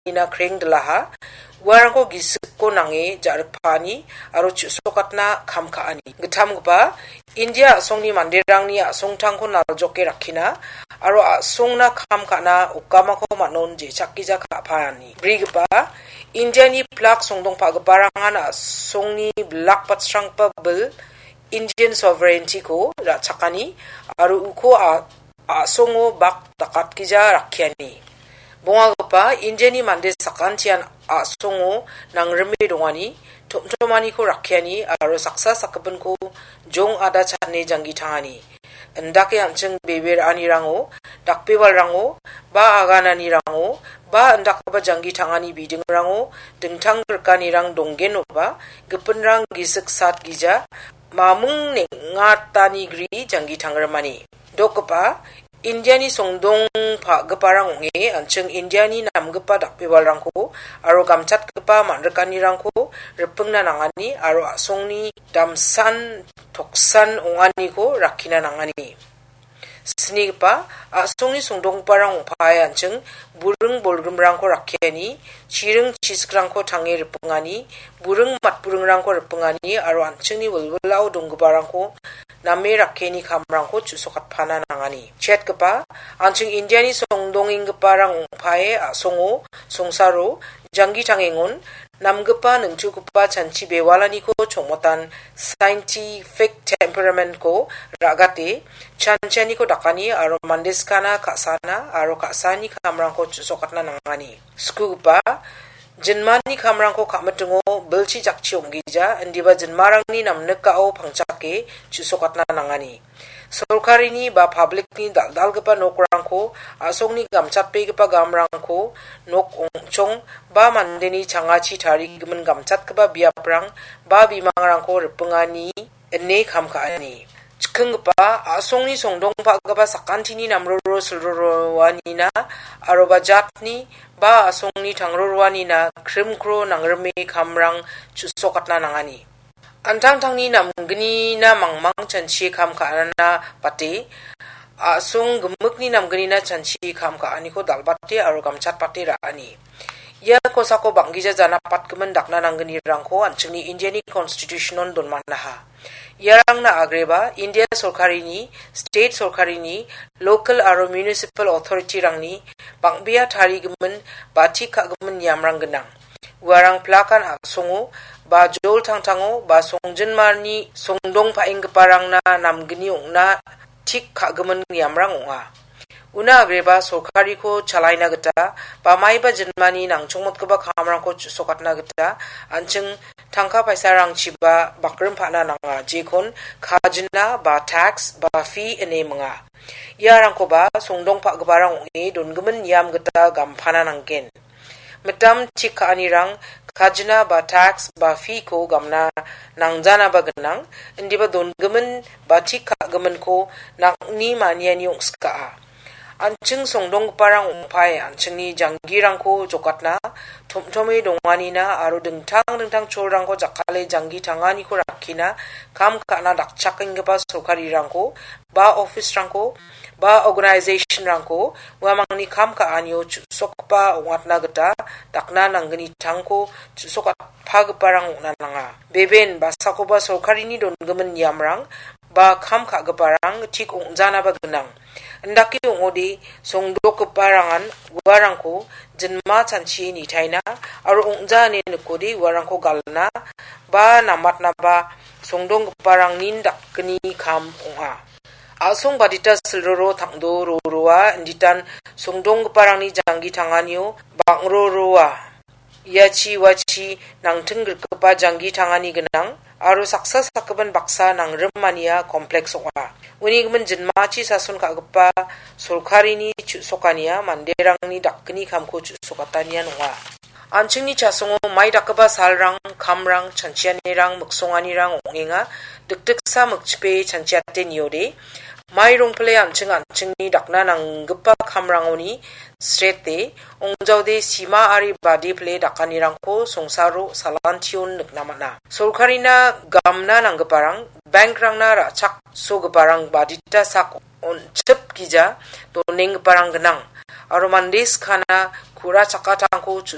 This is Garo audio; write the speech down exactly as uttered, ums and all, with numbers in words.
donganina krengdilaha, uarangko gisikko nange ja·rikpaani aro chu·sokatna kam ka·ani. Gittamgipa India a·songni manderangni a·songtangko naljoke rakkina aro a·songna kam ka·na okamako man·on je·chakgija ka·paani. Brigipa Indiani plak songdongpagiparangan a·songni bilak batsrangba bil Indian sovereignty-ko ra·chakani aro uko a-, a·songo bak dakatgija rakkiani. Bongagipa Indiani mande sakantian a·songo nangrime dongani, tom·tomaniko rakkiani aro saksa sakgipinko jong ada cha·ane janggi tangani. Indake an·ching bebe ra·anirango, dakbebalrango, ba agananirango, ba indakgipa janggi tangani bidingrango dingtang grikanirang donggenoba, gipinrang gisik sat gija, maming neng·atanigri janggi tangrimani. Dokgipa, Indiani songdong pa·giparang ong·e, an·ching Indiani namgipa dakbebalrangko aro gamchatgipa man·rikanirangko ripingna nangani aro a·songni damsan toksan ong·aniko rakkina nangani. Snigipa, a·songni songdonggiparang ong·pae an·ching buring bolgrimrangko rakkiani, chiring chisikrangko tange ripingani, buring matburingrangko ripingani aro an·chingni wilwilao donggiparangko name rakkiani kamrangko chu·sokatpana nangani. Chetgipa, an·ching Indiani songdongenggiparang ong·pae a·songo, songsaro, janggi tangengon, namgipa ningtugipa chanchi bewalaniko chongmotan scientific temperament-ko ra·gate, chanchianiko dakani aro mande skana ka·sana aro ka·saani kamrangko chu·sokatna nangani. Skugipa, jinmani kamrangko ka·mitingo bilchi jakchi ong·gija, indiba jinmarangni namnikao pangchake chu·sokatna nangani. Sorkarini ba public-ni dal·dalgipa nokrangko, a·songni gamchatbegipa gamrangko, nok ong·chong ba mandeni changachi tarigimin gamchatgipa biaprang ba bimangrangko ripingani ine kam ka·ani. Chikinggipa, a·songni songdongpagipa sakantini namroro silroroanina aroba jatni ba a·songni tangroroanina krimkro nangrime kamrang chu·sokatna nangani. An·tangtangni namgnina mangmang chanchi kam ka·anana bate, a·song gimikni namgnina chanchi kam ka·aniko dal·bate aro gamchatbate ra·ani. Ia kosako bang·gija janapatgimin dakna nanggnirangko an·chingni Indiani Constitution-on donmanaha. Iarangna agreba India sorkarini, state sorkarini, local aro municipal authority-rangni bang·bea tarigimin ba tik ka·gimin niamrang gnang. Uarang plakan a·songo, ba jol tangtango, ba songjinmarni songdong pa·enggiparangna namgni ong·na tik ka·gimin niamrang ong·a. Una agreba sorkariko chalaina gita, ba maiba jinmani nangchongmotgipa kamrangko chu·sokatna gita, an·ching tangka paisarangchiba bakrim pa·na nanga, jekon kajina, ba tax, ba fee ine minga. Iarangkoba songdong pa·giparang ong·e dongimin niam gita gampana nanggen. Mitam tik ka·anirang kajina ba tax ba fee-ko gamna nangjanaba gnang, indiba dongimin ba tik ka·giminko nang·ni maniani ong·skaa. An·ching songdonggiparang ong·pae an·chingni janggirangko jokatna, tom·tome donganina aro dingtang dingtang cholrangko jakkale janggi tanganiko rakkina kam ka·na dakchakenggipa sorkarirangko ba office-rangko, ba organization-rangko uamangni kam ka·anio chu·sokgipa ong·atna gita dakna nanggnitangko chu·sokatpagiparang ong·na nanga. Beben basakoba sorkarini dongimin niamrang ba kam ka·giparang tik ong·janaba gnang. Indake ong·ode songdokgiparangan uarangko jinma chanchie nitaina aro ong·ja ine nikode uarangko galna ba namatnaba songdonggiparangnin dakgni kam ong·a. A·song badita silroro tangdo roroa inditan songdonggiparangni janggi tanganio bang·roroa. Iachi uachi nangting grikgipa janggi tangani gnang aro saksa sakgipin baksa nangrimania kompleks ong·a. Uni gimin jinmachi sason ka·gipa sorkarini chu·sokania manderangni dakgni kamko chu·sokatanian ong·a. An·chingni chasongo mai dakgipa salrang, kamrang, chanchianirang, miksonganirang ong·enga. Dikdiksa mikchipe chanchiate niode, mai rongpile an·ching an·chingni dakna nanggipa kamrangoni srete, ong·jaode sima ari bade pile dakanirangko songsaro salantion nikna man·a. Sorkarina gamna nanggiparang, bankrangna ra·chaksogiparang badita sak on·chipgija donenggiparang gnang. Aro mande skana ku·ra chakatangko chu-